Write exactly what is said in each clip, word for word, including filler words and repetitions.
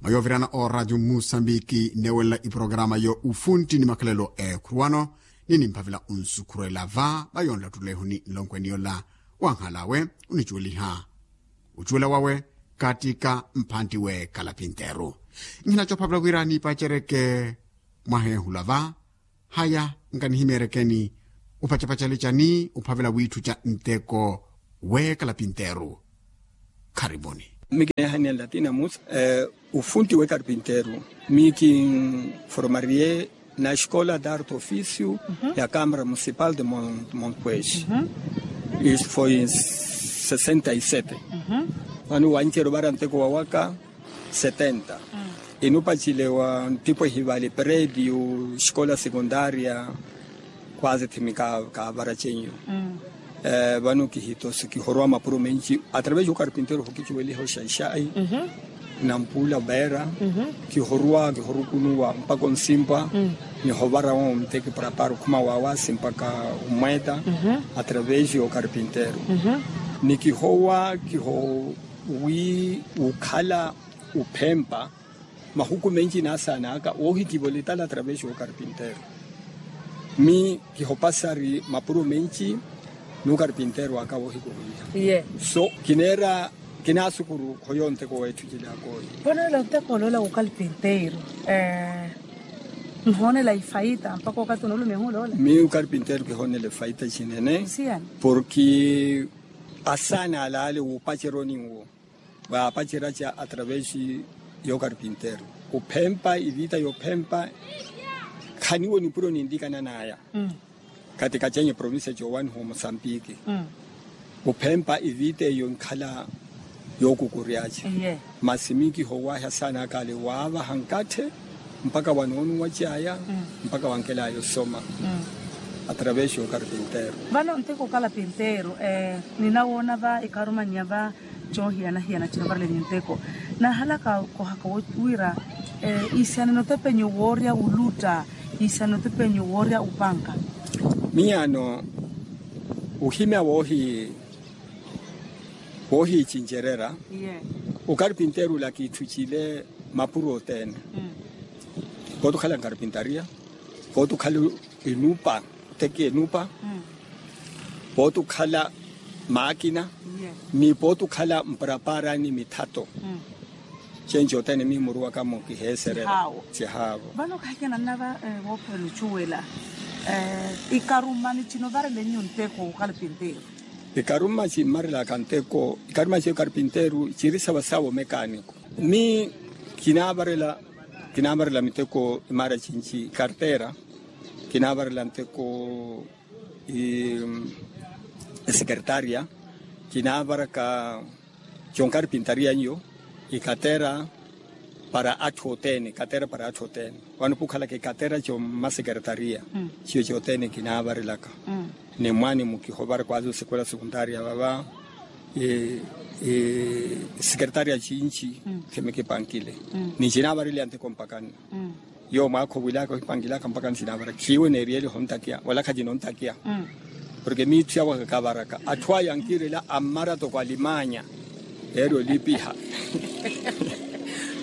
Mwa yoovirana oraatio mmusambiki nneewelela iporokaraama yo ufuntti ni makhalelo eekhuruwano, ni nimphavela onsukhurela va va yonlattulehuni nlonkweni yola wanhalawe onicuweliha ocuwela wawe. Kaattika mphantti w'ekalapinteeru nhina coophavela wira niipacereke mwaha ehula va. Haya, nkanihimeerekeni opacapacale cani ophavela wiitthuca nteko w'ekalapinteeru? Kharivoni. Mi kineehanela tina musa ufunti w'ekarpinteeru. Mi kinformariye na escola d'arte ofício ya câmara municipal de montpuez. Isso foi em sessenta e sete. Vano wanceryo vara nteko wawaka setenta. Inupacile wa ntipo ehivali prédio escola secundária. Quase thimi kaavara cenyu. Vano kihitosi kihorowa mapuro menci através yo karpinteiro hokicuweliha oxaixai. Nampula vera kihorowa kihorukunuwa mpaka onsimpwa. Nihovara onteki prapara okhuma wawasi mpaka omweta através yo karpinteiro. Ni kihowa kiho wi ukhala uphempa mahuku menci naasaana aka woohikivoletala através yo karpinteiro. Mi kihopasari mapuro menci ni okarpinteiro aka woohikuruwiha. Ye so kineera kinaasukuru khoyo nteko weetthu cila akooyi. Ponoela nteko oloola okarpinteiro nhoonela ifaita mpaka okathi onolumiha oloola. Mi okarpinteiro kihoonela ifaita cinene. Porki asaana alaale wuupaceroni nwo waapacerya ca através yo karpinteiro. Ophempa ivita yophempa khaniwo nipuro ninlikananaya. Kati kacenye provincia cowaniha omosambiki ophempa ivita eyo nkhala yokukuryaca. Masi mi kihowahi asaana akale waavaha nkatthe mpaka wanoonuwa caya mpaka wankelaya osoma através yo karpinteiro. Vano nteko okarpinteiro ninawoona va ikarumannya va coohiyana-hiyana cinovarele ni nteko. Nahalaka kohaka wira iisanene otepenyu woorya ulutta iisanene otepenyu woorya upanka. Miyaano ohimya woohi woohiicincererya. Okarpinteiro ula kiitthucile mapuro othene. Pooti okhala nkarpintariya pooti okhala enupa oteki enupa pooti okhala maakina ni pooti okhala mparaparani mithato. Cenci othene mihimuruwakamo kiheesererya. Cihaavo. Vano kahikananna va voophwela ocuwela ikaruma ni cinovarelennyu nteko okarpinteiro. Ikaruma cimmarelaka nteko ikaruma ciyo karpinteiro ciri savasawa omekaaniko. Mi kinaavarela miteko imaara cinci ikartera kinaavarela nteko esekeretaria kinaavaraka conkarpintaria nyo ikatera para atthu othene ikatera para atthu othene. Vano pukhalaka ikatera commasekeretaria ciyo cothene kinaavarelaka. Ni mwaani mukihovara kwazi osekwela sekuntaria vava sekeretaria cinci khimikipankile ni cinaavareliya nteko mpakani. Yo mwaakha owilaka ohipangilaka mpaka nsinavara khiiwe neeriyeliha ontakiya wala khacinontakiya. Porke miitthu yawe kakavaraka atthu aya ankiirela ammara toko alimanya. Eeri olipiha.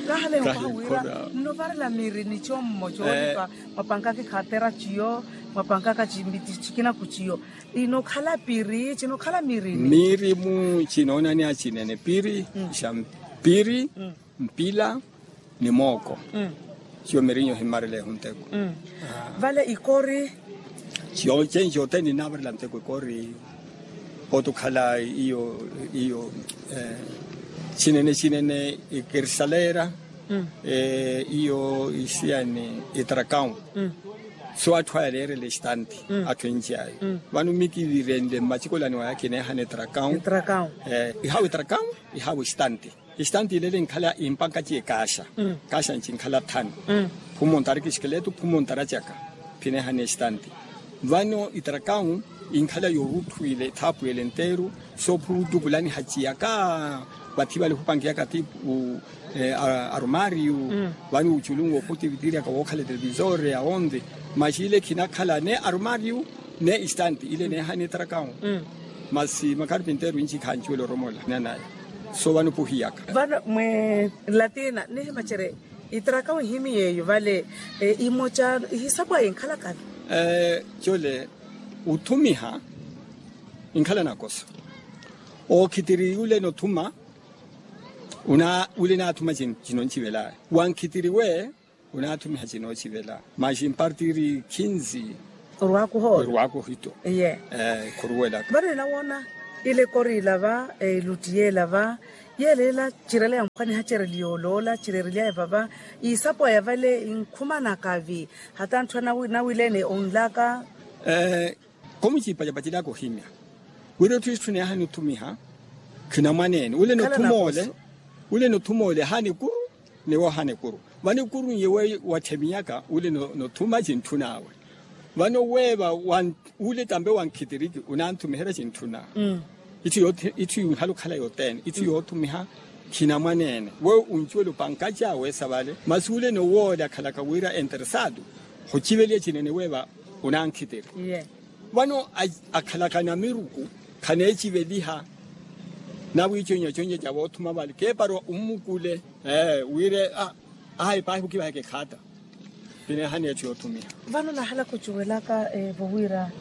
Kahale okoha wira nnovarela miri ni commo coolipa mwapankaka ikhatera ciyo mwapankaka cimbiti cikina kuciyo. Inokhala piri cinokhala miri ni miri mu cinoonani acinene piri. Xa piri mpila ni mooko. Ciyo mirinyo himmareleeho nteko. Vale ikori. Ciyo cenci othene ninaavarela nteko ikori. Pooti okhala iyo iyo cinene cinene ikirisalera iyo isiyani itrakawu. So atthu aya leerela estanti atthu enci aya. Vano mi kivirenle mmacikolani waya kineehana itrakawu. Ihawa itrakawu ihawa estanti. Estanti ilele inkhala impankaci ekaaxa. Kaaxa nci inkhala thanu. Phumontara ekixikeletu phumontara caka. Phinehane estanti vano itrakawu inkhala yorutthu ile ethaapu ele enteru. Soophuru ottukulaniha ciyaka vathi vale ohupankiyaka tipu arumaariyu. Vano oculumu wooputivitiryaka wookhala etelevisore awonthe. Maxi ile khinakhala ne arumaariyu ne estanti ile neehane itrakawu. Masi makarpinteru inci khancuwela oromola nanaya. Soovana opuhiyaka. Vano mwe latina nihimacerye itraka wihimi yeeyo vale. Imoca ihisapwa inkhalaka vi? Cole othumiha inkhala nakosa. Ookhitiri ule nothuma ule naathuma cinoncivelaya. Wankhitiri we unaathumiha cinoocivela maxi mpartiri khinzi. Orwaakuha ore orwaakuha ito. Iye. Khuruwelaka vano ninawoona ile koriila va, elutti yeela va yeela ela cirela yamphwaniha cereliya oloola cirerilyaya vava. Iisapwaya vale inkhumanaka vi hata anthu anawileene onlaka. Khomuciipacapacelaka ohimya wira otthu itthuna yaahani othumiha khinamwaneene ule nothuma ole. Ule nothuma ole ahaana ekuru ni wohaana ekuru vano ekuru n'iye watthemiyaka ule nothuma cintthun'awe. Vano weeva ule tampe wankhitiriki unaanthumiherya cintthun'awe. Itthu yinhala okhala yothene itthu yoothumiha khinamwaneene we uncuwela opankaci awe esa vale masi ule nowoole akhalaka wira enteresado. Khuciveliya cinene weeva unankhitiri. Vano akhalaka namiruku khaneeciveliha nawiiconyaconyaca voothuma vale keeparwa ommukule wire. Ahayi paahi okivaheke ekhaata. Kineehani etthu yoothumiha. Vano nahala khucuwelaka evo wira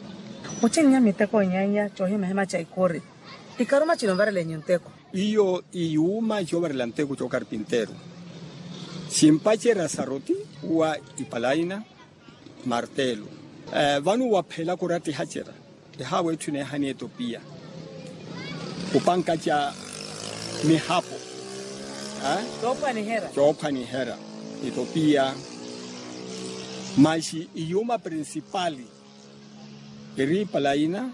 mucinnya miteko enyeenya coohimahima ca ikori ikaruma cino varelenyu nteko. Iyo iyuuma coovarela nteko cookarpinteru. Cimpacerya saroti uwa ipalaina martelo. Vano waphela kurattihacerya ehaawa etthu ineehani etopiya kupankaca mihapo coophwaniherya etopiya. Maxi iyuuma prinsipali eri ipalaina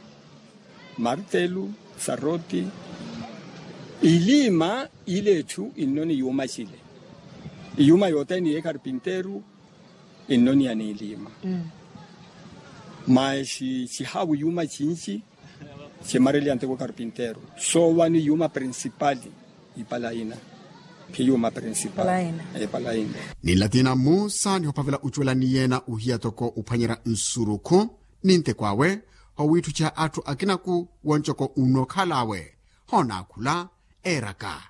martelo saroti iliima. Ile etthu inno ni yuuma cile iyuuma yothene yeekarpinteru inno ni ya niiliima. Maxi cihaawa iyuuma cinci cimareliya nteko karpinteru soovani iyuuma prinsipali ipalaina. Phiyuuma prinsipali ipalaina. Ninlatina mmusa nihophavela ocuwela ni yeena ohiya toko ophwanyerya nsurukhu ni nteko awe owiitthuciha atthu akinaku woncoko unnookhala awe. Hoonaakhula eeraka.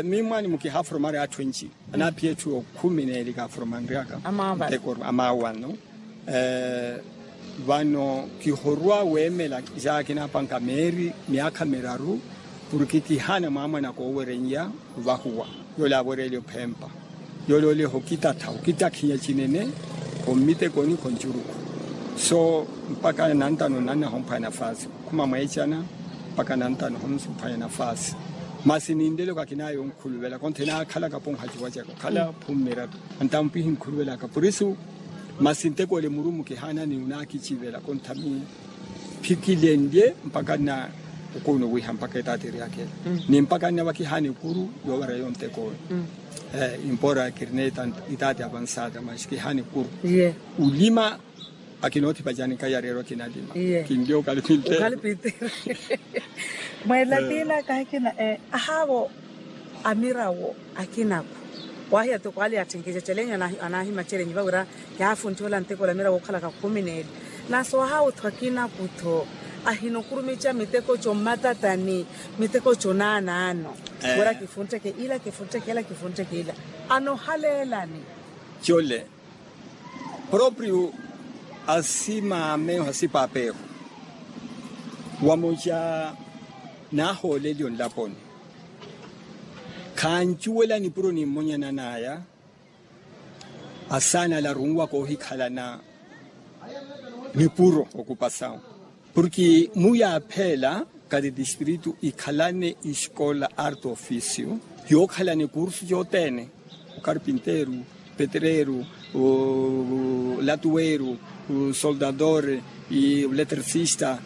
Miyo mwaani mukihaaforomari atthu enci anaaphiya etthu okhumi n'eli kaaforomanryaka. Nteko amaawa ano vano kihorwa weemela jaakina apanka meeri myaakha miraru. Porke kihaana mwaamwanaka ooweren'ya ovahuwa yoole aawereelya ophempa yoole ooleha okitatha okitakhinya cinene khommitekoni khoncuruku. So mpaka nantano nanna homphwaya nafaasi okhuma mweecana mpaka nantano homphwaya nafaasi. Masi ninlelo kakinaya onkhuluvela kontha enaakhalaka ponhacuwa caka okhala phummiratu antampihi nkhuluvelaka purisu. Masi nteko ole murumu kihaanani onaakicivela kontha miyo phikilenlye mpaka nna okuunuwiha mpaka etaati eryakhela ni mpaka nna vakihaana ekuru yoovareya ontek'oyo. Impora kirina itaati avansaata maxi kihaana ekuru. Ulima akinoothipacani kayareerwa kinalima kinlye okhali pinteru. Mweelatina kahikina ahaavo amirawo akinaku waahiya toko ale yaatthenkece celenyu anaahimacelenyu vawira yaafuntthiwa ola nteko ola mirawo ookhalaka khumi n'eli. Naaso ahaawutho akinakutho ahinokurumica miteko commatatani miteko conaanaano wira kifuntteke ila kifuntteke ila kifuntteke ila anohaleelani. Cole proprio asimameho asipapeho wamoca naahooleliwe onlaponi khancuwela nipuro ni mmonyanan'aya. Asaana ala arunwaka oohikhalana nipuro okupasawu porke muyaaphela kati distritu ikhalane escola arte ofisio yookhalana ekursu yothene okarpinteru petreru latuweru soldadore oletrisista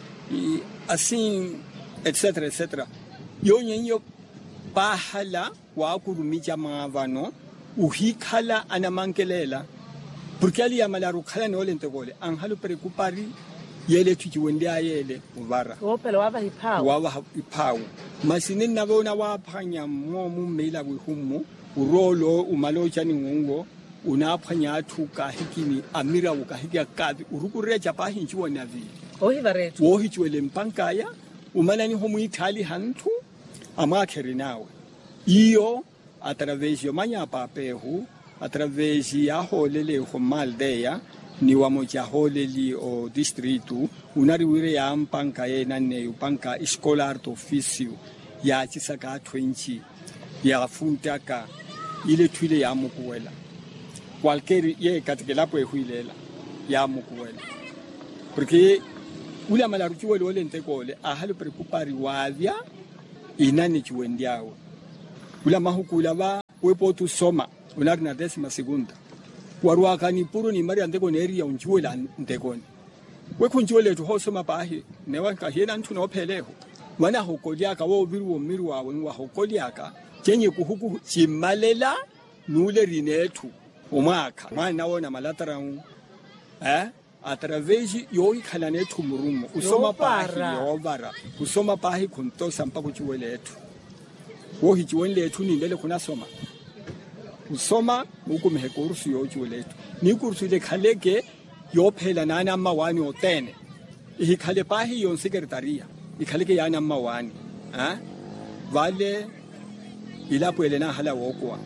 asin etsetera etsetera. Yoonye iyo paahala waakurumica mwaavano ohikhala anamankelela porke ali yamalaru okhalana ole nteko ole anhala operekupari yeela etthu ciwenly'aya ele ovara. Waavaha iphaawu masi ninnavoona waaphwanya mmo mummeila wihu mmu orwa ole omala ocani wunwo onaaphwanya atthu kahikini amirawo kahiki akaavi orukurerya ca paahi ncuwa naviili woohicuwela empank'aya omananiha omwiithaaliha ntthu amwaakha erin'awe. Iyo atravesi yomanya apaapa ehu, atravesi yaahooleli ehu mmaldeya ni wamoci ahooleli otistritu, unari wira yaampanka yeenanneyo panka escolar to ofisio, yaacisaka atthu enci, yaafuntaka ile etthu ile yaamukuwela. Kwalkeri ye katikelapo ehu ileela yaamukuwela. Porke ule amalaru cuwela ole nteko ole aahali operekupa ari waavya inani cuwenly'awe. Ule amahuku ula va wepooti osoma, onari na desima segunda, warwaka nipuro ni mari ya nteko neeriya oncuwela ntekoni. We khuncuwela etthu hoosoma paahi, newa nkahiyena nthu noopheela ehu. Vanahokolyaka wooviriwa ommiru awe nwahokolyaka, cenyi kuhuku cimmalela nuulerina etthu omwaakha mwaana woona malatarau. Atravesi yoohikhalana etthu murumo osoma paahi yoovara, osoma paahi khuntosa mpakha ociwela etthu. Woohiciwenle etthu ninlele khunasoma. Osoma nuukumiha ekursu yoociwela etthu, ni kursu ile ekhaleke yoopheela naanamma waani othene. Ihikhale paahi yonsekertariya, ikhaleke yaanamma waani. Vale ilapo ele naahala wookuwa,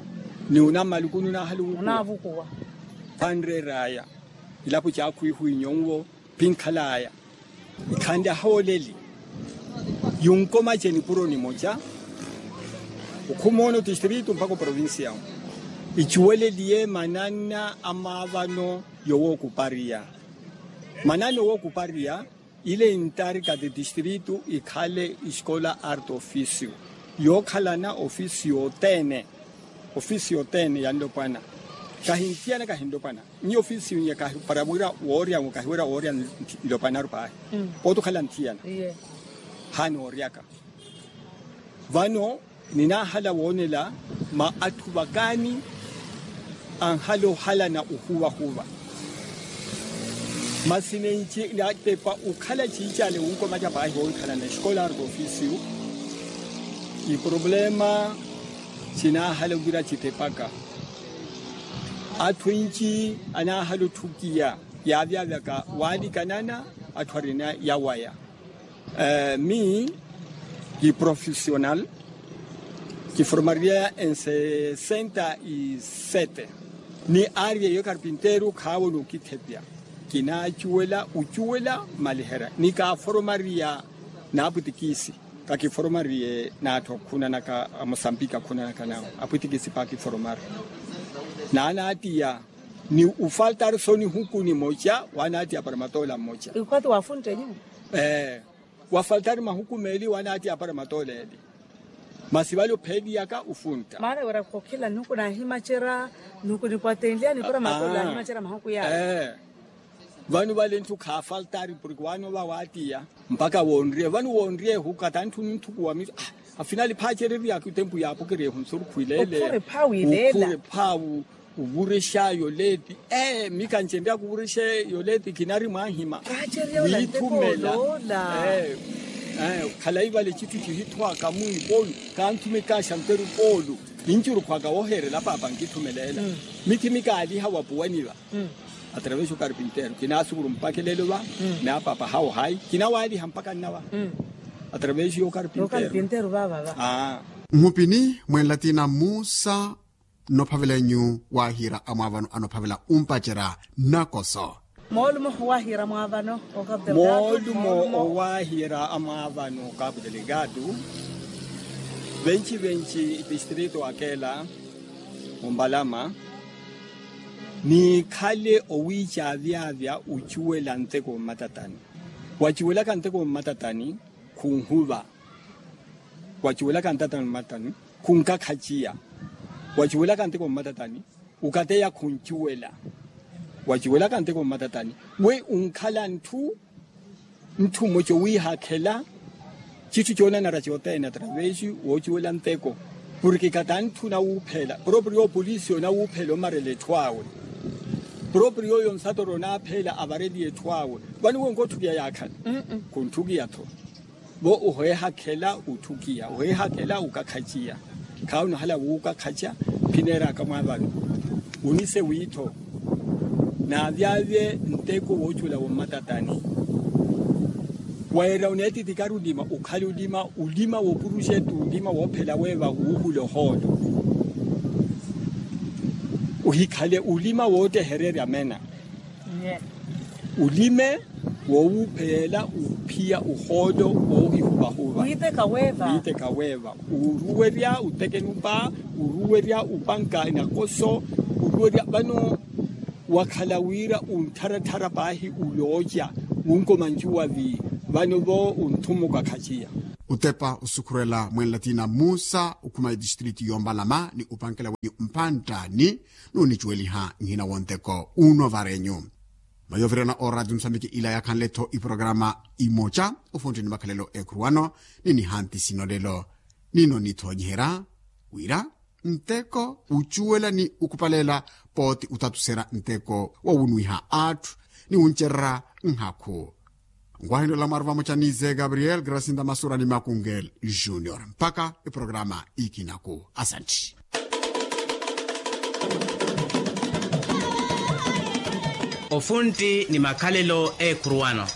ni unammaluku nunaahala wukuwa. Khanreer'aya ilapo caakhwiihwi nyonwo phinkhal'aya. Ikhanle ahooleli yunkomace nipuro nimoca okhumoona otistritu mpakha oprovincia. Icuweleliye mananna a maavano yowookupariya. Mananna owookupariya ile intarika ti tistritu ikhale escola arte ofisio yookhalana ofisio othene. Ofisio othene ya nlopwana kahinthiyana kahinlopwana. Nyi ofisio nyi para wira woorya nwo kahiwerya woorya nlopwanaru paahi. Pooti okhala nthiyana. Hano ooryaka vano ninaahala woonela ma atthu vakaani anhala ohalana ohuvahuva. Masi nenci natepa okhala ciicale wunkomaca paahi woowikhalana escolar do ofisio. Iproblema cinaahala ovira citepaka. Atthu enci anaahala otthukiya yaavyavyaka waalikanana atthu arina yawaya. Mi kiprofisional kiforomariya ensesenta y sete. Ni aari eyo karpinteru khaawo n'ukithepya. Kinaacuwela ocuwela mmaliherya ni kaaforomariya n'apwitikisi. Kakiforomariye n'atthu akhunanaka a mosambiki akhunanaka nawo apwitikisi paakiforomari. Naanaatiya ni ufaltari so nihuku nimoca waanaatiya para matoola mmoca. Ikhwati waafuntteliwe. Wafaltari mahuku meeli waanaatiya para matoola eli. Masi vale opheeliyaka ufuntta maana wira khukhila nihuku naahimacerya. Nihuku nipwatenlyani para matoola ahimacerya mahuku yaawe. Vano vale nthu khaafaltari porke waano va waatiya mpakha woonriye vano woonriye ehu katantthuni nthukuwa miso. Afinali phaacereryaka otempu yaapokereya ehu nsurukhu ileele. Ophuri phaawu ileela. Ophuri phaawu. Ovurexa yoleeti. Ee mi kancenryaka ovurexa yoleeti kinari mwaahima. Wiithumela. Khalayi vale citthu cihithwaka mwiipolu. Kanthumekaaxa nteru poolu. Nincurukhwaka wooheerela paapa nkithumeleela. Mithi mikaaliha wapuwani va. Atravesi okarpinteru kinaasukuru mpakha eleelo va. Ni apaapa hawo hayi kinawaaliha mpakha nna va. Atravesi yokarpinteru. Mhupini mwenlatina mmusa nnophavela enyu waahiira amwaavano anophavela umpacerya. Nakoso moolumo owaahiira amwaavano okapu delegado. Moolumo owaahiira amwaavano okapu delegado. Venci venci itistrito akeela ompalama niikhale owiica avyaavya ocuwela nteko mmatatani. Wacuwelaka nteko mmatatani khunhuva. Wacuwelaka ntatani mmatani khunkakhaciya. Wacuwelaka nteko mmatatani okateya khuncuwela. Wacuwelaka nteko mmatatani we unkhala ntthu ntthu mmoca owiihakhela citthu coonanara cothene atravesi woocuwela nteko. Porke katantthuna wuuphela proprio opolisi onawuuphela omarela etthu awe. Proprio oyo nsatoro onaapheela avareliye etthu awe. Vano we onkotthukiya yaakhala khuntthukiyatho. Vo oheehakhela otthukiya oheehakhela okakhaciya. Khaawunahala wuukakhaca phineeraka mwaavano. Onise wiitho naavyavye nteko woocuwela wommatatani. Weera oneetitikari olima okhale olima olima woopuruxetu olima woophela weeva wuuhula ohoolo. Ohikhale olima wootehererya mena olime woowuupheyela ophiya ohoolo woohihuvahuva. Wiiteka weeva oruwerya otekenupa oruwerya opanka nakoso oruwerya vano wakhala wira ontharatthara paahi olooca wunkomancuwa vi vano vo ontthumuka khaciya. Otepa osukhurela mwenlatina musa okhuma etistritu yoompalama ni opankela wenyu mpanttani nuunicuweliha nhina wonteko uno varenyu. Mayovirana oradio nsambiki ila yakhanle-tho iporokarama imoca ofuntti ni makhalelo ekhuruwano ni nihanti sino lelo nino nithoonyiherya wira nteko ucuwela ni ukhupalela pooti utatuserya nteko wowunwiha atthu ni wuncererya nhakhu. Nkwahini olamwaru vamoca ni ze gabriel grasinda masura ni makungel junior mpakha iporokarama ikinaku asantti. Ofuntti ni makhalelo ekhuruwano.